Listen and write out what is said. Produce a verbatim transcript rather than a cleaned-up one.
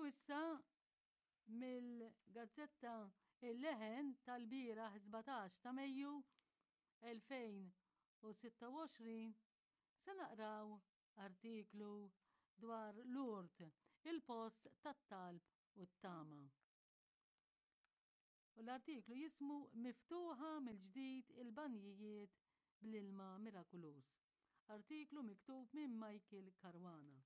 issa mill-gazzetta Il-Leħen tal-bieraħ sbatax ta' Mejju elfejn u sitta u għoxrin se naqraw artiklu dwar Lourdes, il-post tat-talb u t-tama. U l-artiklu jismu Miftuħa mill-ġdid il-banjijiet bl-ilma mirakuluż. Artiklu miktub minn Michael Caruana.